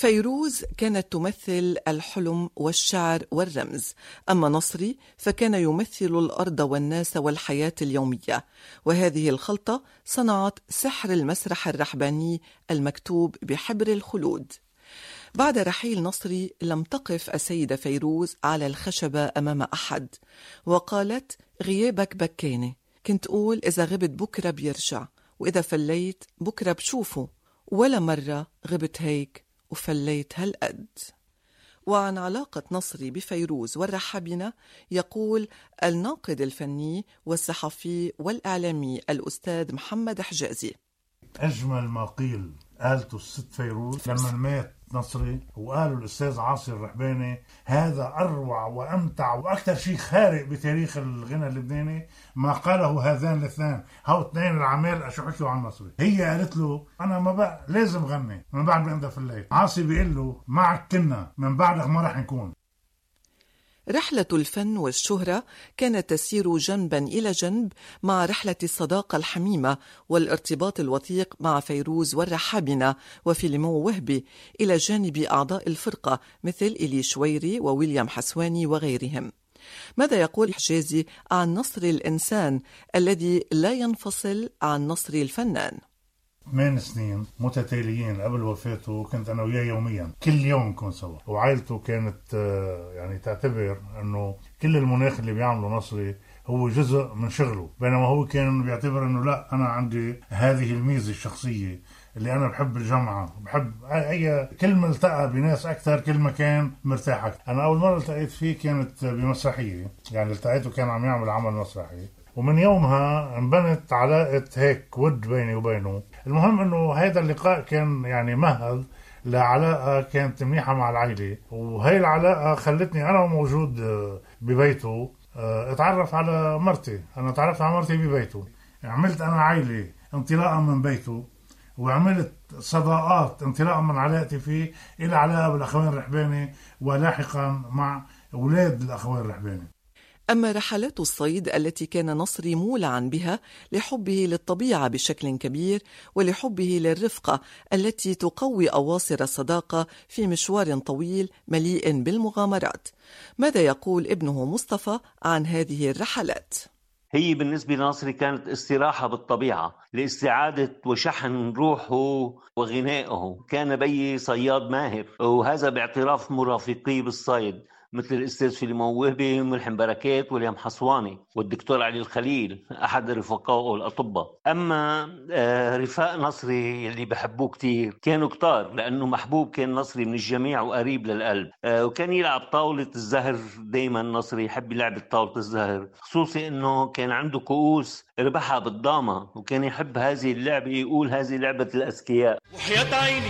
فيروز كانت تمثل الحلم والشعر والرمز، أما نصري فكان يمثل الأرض والناس والحياة اليومية، وهذه الخلطة صنعت سحر المسرح الرحباني المكتوب بحبر الخلود. بعد رحيل نصري لم تقف السيدة فيروز على الخشبة أمام أحد، وقالت: غيابك بكاني، كنت أقول إذا غبت بكرة بيرجع، وإذا فليت بكرة بشوفه، ولا مرة غبت هيك وفليت هالقد. وعن علاقة نصري بفيروز والرحابنة يقول الناقد الفني والصحفي والإعلامي الأستاذ محمد حجازي: أجمل ما قيل قالته الست فيروز لما مات نصري، وقالوا الأستاذ عاصي الرحباني هذا أروع وأمتع وأكثر شيء خارق بتاريخ الغنى اللبناني ما قاله هذان الاثنان، هاو اثنين العمال شو حكوا عن نصري. هي قالت له أنا ما بقى لازم غني من بعد ما في الليل. عاصي بيقول له معك كنا، من بعدك ما رح نكون. رحلة الفن والشهرة كانت تسير جنبا إلى جنب مع رحلة الصداقة الحميمة والارتباط الوثيق مع فيروز والرحابنة وفيليمون وهبي، إلى جانب أعضاء الفرقة مثل إيلي شويري وويليام حسواني وغيرهم. ماذا يقول حجازي عن نصر الإنسان الذي لا ينفصل عن نصر الفنان؟ 8 سنين متتاليين قبل وفاته كنت أنا وياه يوميا، كل يوم نكون سوا، وعائلته كانت يعني تعتبر أنه كل المناخ اللي بيعمله نصري هو جزء من شغله، بينما هو كان بيعتبر أنه لا، أنا عندي هذه الميزة الشخصية اللي أنا بحب الجامعة، بحب أي كل ما التقى بناس أكثر كل ما كان مرتاح أكثر. أنا أول مرة التقيت فيه كانت بمسرحية، يعني التقيته كان عم يعمل عمل مسرحي، ومن يومها انبنت علاقة هيك ود بيني وبينه. المهم انه هذا اللقاء كان يعني مهد لعلاقة كانت منيحة مع العائلة، وهي العلاقة خلتني أنا موجود ببيته اتعرف على مرتي. أنا تعرفت على مرتي ببيته، عملت أنا عائلة انطلاقا من بيته، وعملت صداقات انطلاقا من علاقتي فيه إلى علاقة بالأخوين الرحباني، ولاحقا مع أولاد الأخوين الرحباني. أما رحلات الصيد التي كان نصري مولعا بها لحبه للطبيعة بشكل كبير ولحبه للرفقة التي تقوي أواصر الصداقة في مشوار طويل مليء بالمغامرات، ماذا يقول ابنه مصطفى عن هذه الرحلات؟ هي بالنسبة لنصري كانت استراحة بالطبيعة لاستعادة وشحن روحه وغنائه. كان بي صياد ماهر، وهذا باعتراف مرافقيه بالصيد مثل الأستاذ فيليمون وهبي، ملحم بركات، وليام حصواني، والدكتور علي الخليل أحد رفقائه الأطباء. أما رفاق نصري اللي بحبوه كتير كانوا كتار، لأنه محبوب كان نصري من الجميع وقريب للقلب. وكان يلعب طاولة الزهر دايما، نصري يحب لعبة طاولة الزهر، خصوصي أنه كان عنده كؤوس ربحها بالضامة، وكان يحب هذه اللعبة، يقول هذه لعبة الأذكياء. وحياة عيني